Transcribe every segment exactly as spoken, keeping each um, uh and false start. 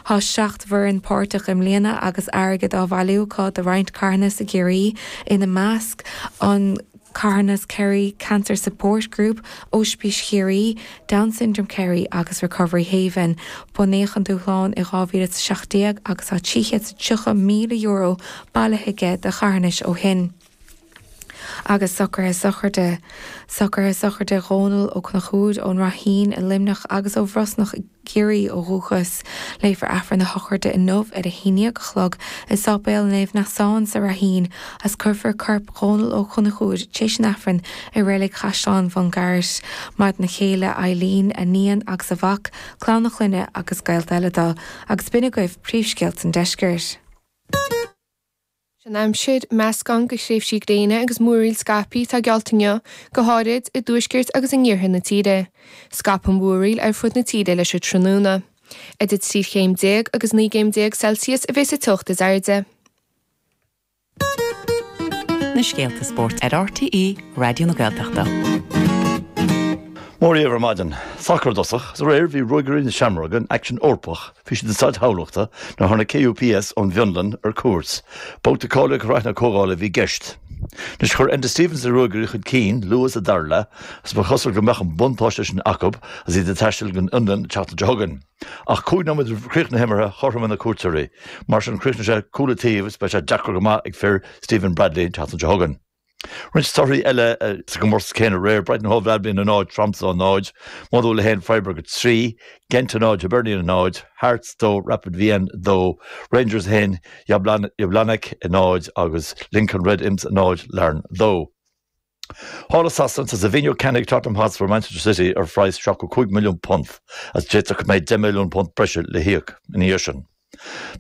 Tá seacht bhfoireann páirteach i mbliana agus airgead á bhailiú acu do roinnt carthanas i gCiarraí, ina measc an carthanas Kerry Cancer Support Group, Ospís Chiarraí, Down Syndrome Kerry agus Recovery Haven. Bunaíodh an dúshlán i dhá mhíle is a seacht déag agus tá trí chéad is tríocha míle euro bailithe aige do charthanais ó shin. Agus socruithe sochraide. Socruithe sochraide Dhónal Ó Conchúir ón Ráithín i Luimneach agus ó Bhrosnach i gCiarraí ó dhúchas. Léifear Aifreann a shochraide inniu ar a haon déag a chlog i Sáipéal Naomh Neasán sa Ráithín agus cuirfear corp Dhónal Ó Conchúir tar éis an Aifrinn i Reilig Chaisleán Bhun Garbhait. Maireann a chéile Eileen, a níon agus a mhac, clann a chlainne agus gaolta eile dó. Agus b'in agaibh príomhscéalta an deiscirt. An aimsir, meascán de thréimhsí gréine agus múraíl scaipthe atá geallta inniu, go háirid i dtuaisceart agus in iarthar na tíre. Scaipfidh an mhúraíl ar fud na tíre leis an tráthnóna. Idir trí chéim déag agus naoi gcéim déag Celsius a bheas sa teocht is airde. Na scéalta spóirt ar RTÉ Raidió na Gaeltachta. Mora dhaoibh ar maidin. Sacar i dtosach, is aréir bhí Ruagairí na Seamróige in aicsean Eorpach, bhí siad i Staid Thamhlachta nuair a tháinig KUPS ón bhFionlainn ar cuairt. Babhta cáilithe Shraith na Comhdhála a bhí i gceist. Anois chuir Enda Stevens na Ruagairí chun cinn luath sa dara leath agus ba chosúil go mbeadh an buntáiste sin acu agus iad ag taisteal don Fhionlainn an tseachtain seo chugainn. Ach cúig nóiméad roimh chríoch na himeartha chothromaigh na cuairteoirí. Mar sin chríochnaigh sé cúl an taobh agus beidh sé deacair go maith ag fir Stephen Bradley an tseachtain seo chugainn. Roinnt torthaí eile sa gcomórtas céanna aréir, Brighton Hove Albion a náid, Tromsø a náid, Maigh Dúil a haon, Freiburg a trí, Gent a náid, Hibernian a náid, Hearts dó, Rapid Vienna dó, Rangers a haon, Jablonec a náid agus Lincoln Red Imps a náid, Larne dó. Thall i Sasana tá Savinho ceannaithe ag Tottenham Hotspur Manchester City ar phraghas seachtó cúig milliún punt agus d'fhéadfadh go mbeidh deich milliún punt breise le híoc ina dhiaidh sin.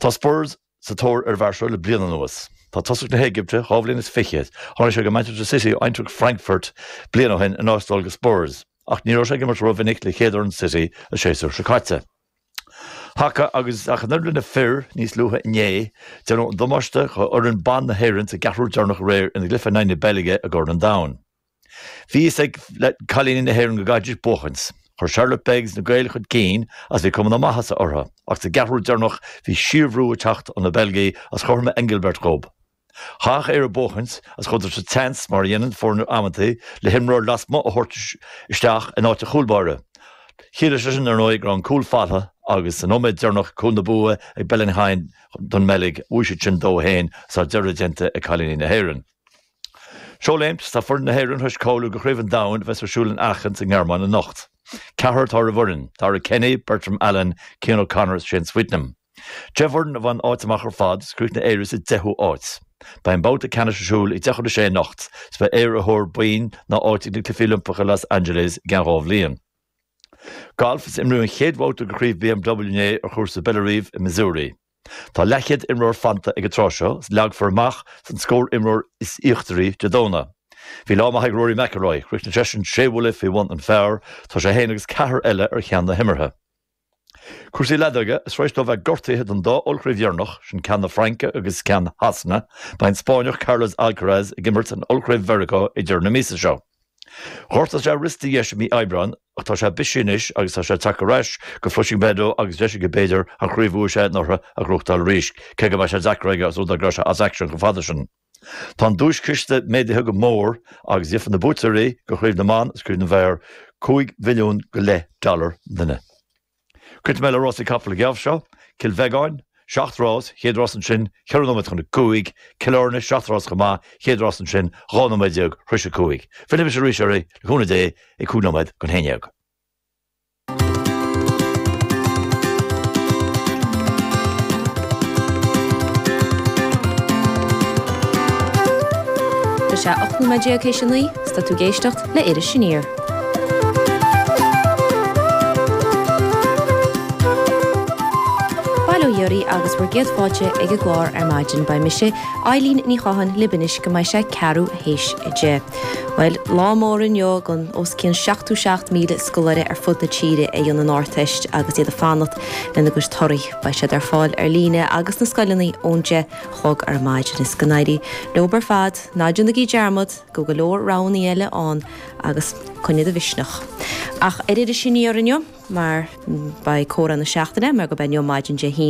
Tá Spurs sa tóir ar an bhfear seo le bliain anuas. Tá tosach na hÉigipte, dhá bhliain is fiche, tháinig sé go Manchester City ó Eintracht Frankfurt bliain ó shin in áit dul go Spurs, ach ní raibh sé ag imirt rómhinic le chéad fhoireann City an séasúr seo caite. Haca agus ach an oiread le na fir níos luaithe inné, déanadh an damáiste do fhoireann ban na hÉireann sa gceathrú deireanach aréir ina gcluiche in aghaidh na Beilge i gCorn an Domhain. Bhí fhios ag cailíní na hÉireann go gcaithfidís buachaint. Chuir Charlotte Beggs na Gaeil chun cinn agus bhí cuma na maitheasa orthu, ach sa gceathrú deireanach bhí síorbhrú ag teacht ó na Beilgigh agus chothromaigh Engelbert dhób. Chaithfeadh Éire buachaint agus chuadar sa tseans, mar a dhéanann foirne amantaí, le himreoir lasmuigh a thabhairt isteach in áit an chúlbáire. Chiallaigh sé sin, ar ndóigh, go raibh an cúl faighte agus sa nóiméad deireanach cúl na bua ag Belen Hein don mBeilg. Bhuaigh siad sin dó a haon agus tá deireadh déanta ag cailíní na hÉireann. Seoléimt, Tá foireann na hÉireann tar éis cáiliú do Chraobh an Domhain a bheas ar siúl in Aachen sa nGearmáin anocht. Ceathrar atá ar an bhfoireann, Dara Kenny, Bertram Allen, Cian O'Connor is Shane Sweetnam. Deich bhfoireann a bhain áit amach ar fad is chríochnaigh Éire sa deichiú áit. Beidh an babhta ceannais ar siúl ag deich chun a sé anocht is beidh Éire ar thóir boinn ná áit ag na Cluichí Oilimpeacha i Los Angeles i gceann dhá bhliain. Galf, Is imríodh an chéad bhabhta de Chraobh BMW inné ar chúrsa Bellerive i Missouri. Tá leathchéad imreoir fanta ag an tráth seo is leagfar amach an scór imreoir is íochtaraí Dé Domhnaigh. Bhí lá maith ag Rory McIlroy, chríochnaigh seisean sé bhuille faoi bhun an phar, tá sé féin agus ceathrar eile ar cheann na himeartha. Cúrsaí leadóige, is tar éis dó bheith gortaithe don dá ollchraobh dheireanach, sin ceann na Fraince agus ceann Shasana, beidh an Spáinneach Carlos Alcaraz ag imirt in Ollchraobh Mheiriceá ag deireadh na míosa seo. Ghortaigh sé a riosta dheis i mí Aibreáin ach tá sé bisiúil anois agus tá sé ag teacht ar ais go Flushing Meadow agus deis aige b'fhéidir an chraobh a bhuaigh sé anuraidh a ghnóthachtáil arís, cé go mbeidh sé deacair aige os rud é go raibh sé as aicsean chomh fada sin. Tá an duaischiste méadaithe go mór agus gheobhaidh na buaiteoirí de Chraobh na mBan agus Craobh na bhFear cúig mhilliún go leith dollar an duine. Críochnóidh mé le rásaí capall an geábh seo, Cill Bheagáin, seacht rás, chéad rás ansin, ceithre nóiméad chun a cúig, Cill Airne, seacht rás chomh maith, chéad rás ansin, dhá nóiméad déag tar éis a cúig. Fillfidh mise arís oraibh, le cúnamh Dé, ag cúig nóiméad chun a haon déag. Tá sé ocht nóiméad déag théis a naoi, 's tá tú ag éisteacht le Iris Aniar. Bail ó Dhia oraibh agus bhur gcéad fáilte ag an gclár ar maidin. Beidh mise, Eileen Ní Chatháin, libh anois go mbeidh sé ceathrú théis a deich. Bhuel, lá mór inniu don os cionn seachtó seacht míle scoláire ar fud na tíre a dhéanann an Ardteist agus iad ag fanacht lena gcuid torthaí. Beidh siad ar fáil ar líne agus sna scoileanna ón deich a chlog ar maidin. Is go n-éirí leo ar fad, ná déanaigí dearmad go bhfuil go leor roghanna eile ann agus coinnigh do mhisneach. Ach ar Iris Aniar inniu, mar beidh comhrá na seachtaine, mar gurb é inniu maidin Dé hAoine,